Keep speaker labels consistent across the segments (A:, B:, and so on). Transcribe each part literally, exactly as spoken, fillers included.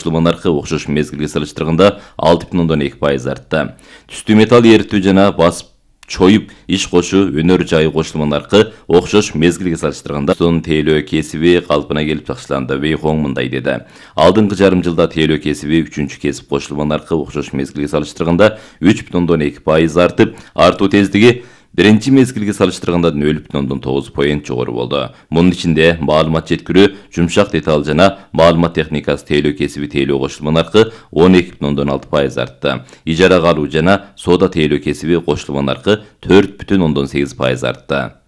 A: Кошулман аркы окшош мезгилге салыштырганда алты бүтүн ондон эки пайыз артты. Түстүү металл эритүү жана басып чоюп иш кошуу өнөр жайы кошулман аркы окшош мезгилге салыштырганда сонун тейлөө кесиби калпына келип башталганда Вейхоң мындай деди. Алдыңкы жарым жылда тейлөө кесиби үчүнчү кесип кошулман аркы окшош мезгилге салыштырганда үч бүтүн ондон эки пайыз артып, артуу тездиги биринчи мезгилге салыштырганда нөл бүтүн ондон тогуз поинт жогору болду. Мунун ичинде маалымат жеткирүү, жумшак деталь жана маалымат техникасы тейлөө кесиби тейлөө кошулман аркы он эки бүтүн ондон алты пайыз артты. Ижарага алуу жана соода тейлөө кесиби кошулман аркы төрт бүтүн ондон сегиз пайыз артты.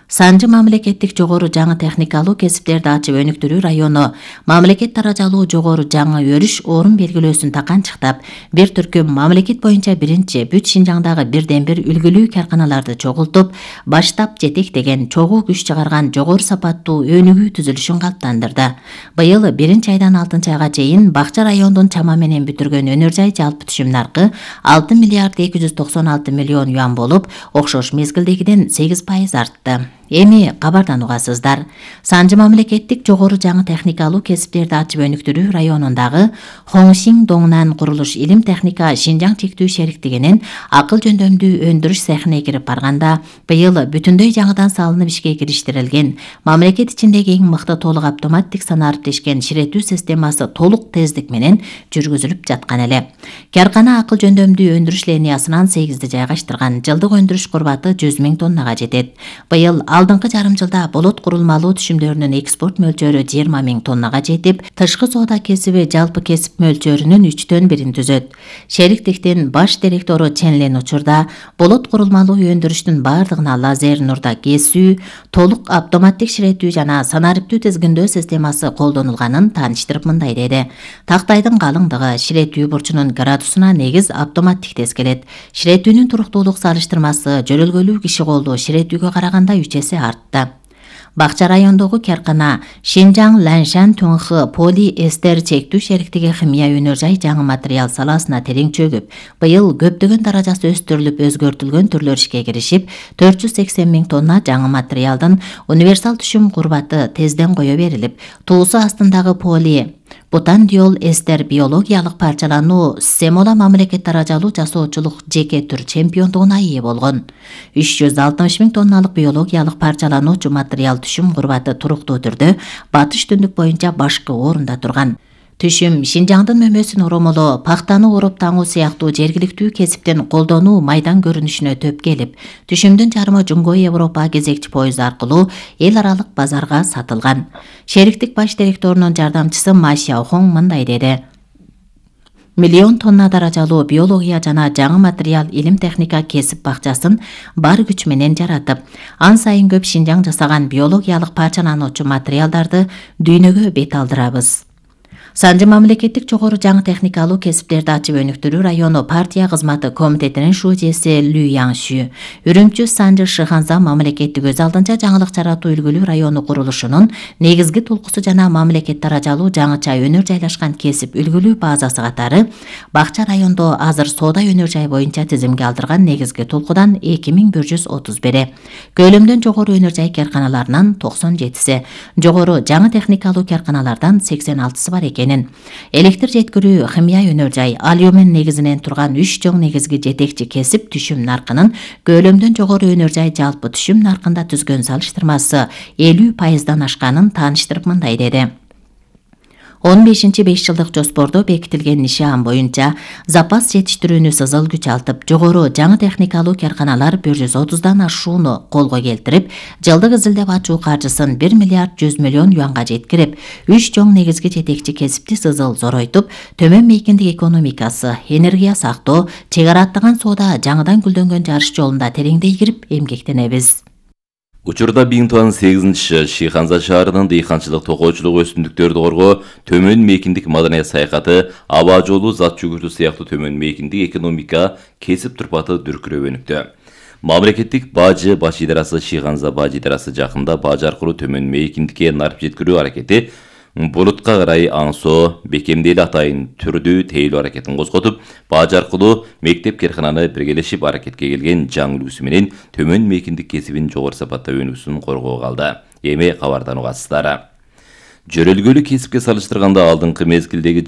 B: Санжы мамлекеттик жогору жаңы техникалуу кесиптерди ачып өнүктүрүү району мамлекет даражалуу жогору жаңы өрүш орун белгилөөсүн таканчыктап, бир түркүм мамлекет боюнча биринчи бүт Шинжаңдагы бирден бир үлгүлүү карканаларды чогултуп, баштап жетектеген чогуу күч чыгарган жогору сапаттуу өнүгүү түзүлүшүн калыптандырды. Быйыл биринчи айдан алтынчы айга чейин Бакча райондун чама менен бүтүргөн өнөр жай жалпы түшүм наркы алты миллиард эки жүз токсон алты миллион юан болуп, окшош мезгилдегиден сегиз пайыз артты. Эми кабардан угасыздар. Санжы мамлекеттик жогору жаңы техникалуу кесиптерди ачып өнүктүрүү районундагы Хоңшиң Доңнан курулуш илим техника Шинжаң чектүү шериктигинин акыл жөндөмдүү өндүрүш цехине кирип барганда, быйыл бүтүндөй жаңыдан салынып ишке кириштирилген мамлекет ичиндеги эң мыкты толук автоматтик санариптешкен ширетүү системасы толук тездик менен жүргүзүлүп жаткан эле. Каркана акыл жөндөмдүү өндүрүш линиясынан сегизди жайгаштырган, жылдык өндүрүш курбаты жүз миң тоннага жетет. Быйыл алдыңкы жарым жылда болот курулмалуу түшүмдөрүнүн экспорт мөлчөрү жыйырма миң тоннага жетип, тышкы соода кесиби жалпы кесип мөлчөрүнүн үчтөн бирин түзөт. Шериктиктин баш директору Ченлен учурда болот курулмалуу өндүрүштүн бардыгына лазер нурда кесүү, толук автоматтик ширетүү жана санариптүү тизгиндөө системасы колдонулганын тааныштырып мындай деди. Тактайдын калыңдыгы, ширетүү бурчунун градусуна негиз автоматтик тескелет. Ширетүүнүн туруктуулук салыштырмасы жөрөлгөлүү киши колдуу ширетүүгө караганда үч эсе артты. Бакча райондогу каркана Шинжаң Ланшан Тунхы поли эстер чектүү шериктиги химия өнөр жай жаңы материал саласына терең чөгүп, быйыл көптөгөн даражасы өстүрүлүп, өзгөртүлгөн түрлөр ишке киришип, төрт жүз сексен миң тонна жаңы материалдын универсал түшүм курбаты тезден кое берилип, туусу астындагы поли бутандиол эстер биологиялык парчалануу Семола мамлекет даражалуу жасоочулук жеке түр чемпиондугуна ээ болгон. үч жүз алтымыш миң тонналык биологиялык парчалануучу материал түшүм курбаты туруктуу түрдө батыш түндүк боюнча башкы орунда турган. Түшүм Шинжаңдын мөмөсүн оромолоо, пахтаны ороп таңуу сыяктуу жергиликтүү кесиптен колдонуу майдан көрүнүшүнө төп келип, түшүмдүн жарымы Жунгой Европа кезекчи пойыз аркылуу эл аралык базарга сатылган. Шериктик баш директорунун жардамчысы Ма Сяохоң мындай деди. Миллион тонна даражалуу биология жана жаңы материал илим техника кесип бакчасын бар күч менен жаратып, ан сайын көп Шинжаң жасаган биологиялык парчалануучу материалдарды дүйнөгө бет алдырабыз. Санжы мамлекеттик жогору жаңы техникалуу кесиптерди ачып өнүктүрүү району партия кызматы комитетинин шужеси Лю Яңшү, Үрүмчү Санжы Шыханза мамлекеттик өз алдынча жаңылык жаратуу үлгүлүү району курулушунун негизги толкусу жана мамлекет даражалуу жаңыча өнөр жайлашкан кесип үлгүлүү базасы катары Бакча райондо азыр соода өнөр жай боюнча тизимге алдырган негизги толкудан эки миң бир жүз отуз бири, көлөмдөн жогору өнөр жай карканаларынан токсон жетиси, жогору жаңы техникалуу карканалардан сексен алтысы бар экен. Электр жеткирүү, химия өнөр жай, алюмин негизинен турган үч жоң негизги жетекчи кесип түшүм наркынын көлөмдөн жогору өнөр жай жалпы түшүм наркында түзгөн салыштырмасы элүү пайыздан ашканын тааныштырып мындай деди. он бешинчи беш жылдык жоспордо бекитилген нишан боюнча запас жетиштирүүнү сызыл күчалтып, жогору жаңы техникалуу карканалар бир жүз отуздан ашууну колго келтирип, жылдык изилдеп ачуу каржысын бир миллиард жүз миллион юанга жеткирип, үч жоң негизги жетекчи кесипти сызыл зоройтуп, төмөн мейкиндик экономикасы, энергия сактоо, чек ара аттаган соода жаңыдан гүлдөнгөн жарыш жолунда тереңдей кирип эмгектенебиз.
A: Учурда Биңтуан сегизинчи Шиханза шаарынын дыйканчылык токоочулук өсүмдүктөрдү коргоо, төмөн мейкиндик маданият саякаты, аба жолу, зат жүгүртүү сыяктуу төмөн мейкиндик экономика кесип турпаты дүркүрөп өнүктү. Мамлекеттик бажы баш идарасы Шиханза бажы идарасы жакында бажы аркылуу төмөн мейкиндикке нарп жеткирүү аракети булутка карай аңсоо, бекемдели атайын түрдүү тейлөө аракетин козготуп, бажы аркылуу мектеп керкананы биргелешип аракетке келген жаңы үлгүсү менен төмөн мейкиндик кесибин жогору сапатта өнүгүүсүн коргоого алды. Эми кабардан угасыздар. Жөрөлгөлүү кесипке салыштырганда алдыңкы мезгилдеги